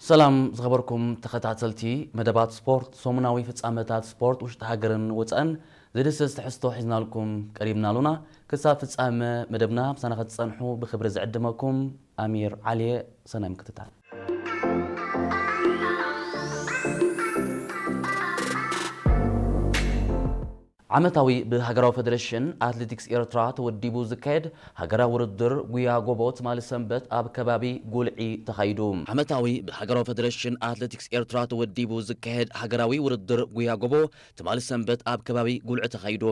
ሰላም ዝኸበርኩም ተኸታተልቲ መደባት ስፖርት፣ ሰሙናዊ ፍጻመታት ስፖርት ውሽጢ ሃገርን ወጻእን ዝድስስ ትሕዝቶ ሒዝናልኩም ቀሪብና ኣሉና። ክሳብ ፍጻመ መደብና ምሳና ክትጸንሑ ብኽብሪ ዝዕድመኩም ኣሚር ዓሊየ። ሰናይ ምክትታል። ዓመታዊ ብሃገራዊ ፈደረሽን ኣትሌቲክስ ኤርትራ ተወዲቡ ዝካየድ ሃገራዊ ውድድር ጉያ ጎቦ ትማሊ ሰንበት ኣብ ከባቢ ጉልዒ ተኻይዱ። ዓመታዊ ብሃገራዊ ፈደረሽን ኣትሌቲክስ ኤርትራ ተወዲቡ ዝካየድ ሃገራዊ ውድድር ጉያ ጎቦ ትማሊ ሰንበት ኣብ ከባቢ ጉልዒ ተኻይዱ።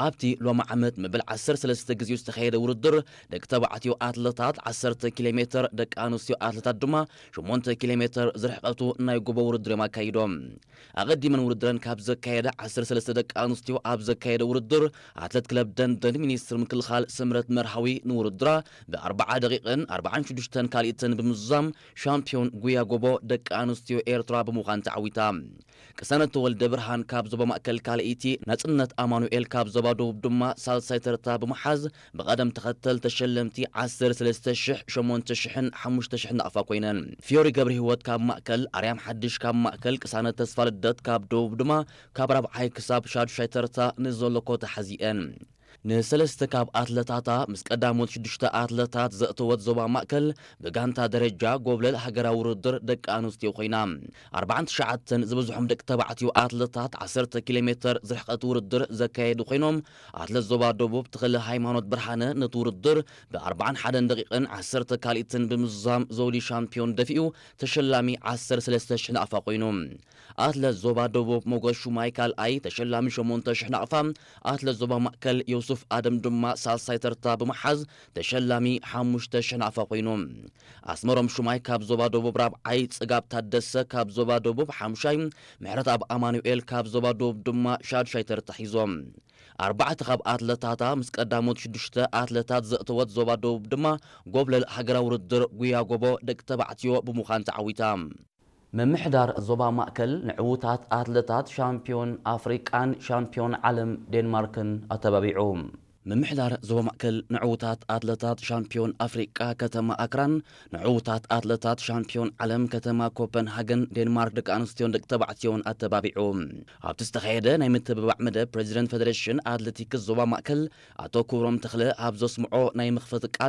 ኣብቲ ሎሚ ዓመት መበል ዓሰርተ ሰለስተ ግዜኡ ዝተኻየደ ውድድር፣ ደቂ ተባዕትዮ ኣትለታት ዓሰርተ ኪሎ ሜትር፣ ደቂ ኣንስትዮ ኣትለታት ድማ ሸሞንተ ኪሎ ሜትር ዝርሕቀቱ ናይ ጎቦ ውድድር እዮም ኣካይዶም። ኣቐዲመን ውድድረን ካብ ዘካየዳ ዓሰርተ ሰለስተ ደቂ ኣንስትዮ ኣብ ዘካየደ ውድድር፣ ኣትለት ክለብ ደንደን ሚኒስትር ምክልኻል ስምረት መርሃዊ ንውድድራ ብኣርብዓ ደቂቕን ኣርብዓን ሽዱሽተን ካልኢትን ብምዝዛም ሻምፒዮን ጉያ ጎቦ ደቂ ኣንስትዮ ኤርትራ ብምዃን ተዓዊታ። ቅሳነት ተወልደ ብርሃን ካብ ዞባ ማእከል ካልኣይቲ፣ ናጽነት ኣማኑኤል ካብ ዞባ ደቡብ ድማ ሳልሳይ ተርታ ብምሓዝ ብቐደም ተኸተል ተሸለምቲ ዓሰርተ ሰለስተ ሽሕ፣ ሸሞንተ ሽሕን ሓሙሽተ ሽሕን ናቕፋ ኮይነን። ፊዮሪ ገብረ ህይወት ካብ ማእከል፣ ኣርያም ሓድሽ ካብ ማእከል፣ ቅሳነት ተስፋ ልደት ካብ ደቡብ ድማ ካብ ራብዓይ ክሳብ ሻዱሻይ ተርታ ንዘሎ ኮታ ሓዚኤን። ንሰለስተ ካብ ኣትለታታ ምስ ቀዳሞት ሽዱሽተ ኣትለታት ዘእተወት ዞባ ማእከል ብጋንታ ደረጃ ጎብለል ሃገራዊ ውድድር ደቂ ኣንስትዮ ኮይና። ኣርብዓን ትሽዓተን ዝበዝሖም ደቂ ተባዕትዮ ኣትለታት ዓሰርተ ኪሎ ሜትር ዝርሕቀት ውድድር ዘካየዱ ኮይኖም፣ ኣትለት ዞባ ደቡብ ተኽለ ሃይማኖት ብርሃነ ነቲ ውድድር ብኣርብዓን ሓደን ደቂቕን ዓሰርተ ካልኢትን ብምዝዛም ዘውዲ ሻምፒዮን ደፊኡ ተሸላሚ ዓሰርተ ሰለስተ ሽሕ ናቕፋ ኮይኑ። ኣትለት ዞባ ደቡብ ሞጎስ ሹማይ ካልኣይ፣ ተሸላሚ ሸሞንተ ሽሕ ናቕፋ፣ ኣትለት ዞባ ማእከል ዮሱፍ ኣደም ድማ ሳልሳይ ተርታ ብምሓዝ ተሸላሚ ሓሙሽተ ሽሕ ናቕፋ ኮይኑ። ኣስመሮም ሹማይ ካብ ዞባ ደቡብ ራብዓይ፣ ጽጋብ ታደሰ ካብ ዞባ ደቡብ ሓሙሻይ፣ ምሕረትኣብ ኣማኑኤል ካብ ዞባ ደቡብ ድማ ሻዱሻይ ተርታ ሒዞም። ኣርባዕተ ካብ ኣትለታታ ምስ ቀዳሞት ሽዱሽተ ኣትለታት ዘእተወት ዞባ ደቡብ ድማ ጎብለል ሃገራዊ ውድድር ጉያ ጎቦ ደቂ ተባዕትዮ ብምዃን ተዓዊታ። ምምሕዳር ዞባ ማእከል ንዕዉታት ኣትለታት ሻምፒዮን ኣፍሪቃን ሻምፒዮን ዓለም ዴንማርክን ኣተባቢዑ። ምምሕዳር ዞባ ማእከል ንዕዉታት ኣትለታት ሻምፒዮን ኣፍሪቃ ከተማ ኣክራን፣ ንዕዉታት ኣትለታት ሻምፒዮን ዓለም ከተማ ኮፐንሃገን ዴንማርክ ደቂ ኣንስትዮን ደቂ ተባዕትዮን ኣተባቢዑ። ኣብቲ ዝተኻየደ ናይ ምትብባዕ መደብ ፕሬዚደንት ፌደሬሽን ኣትሌቲክስ ዞባ ማእከል ኣቶ ክብሮም ተኽለ ኣብ ዘስምዖ ናይ መኽፈቲ ቃል፣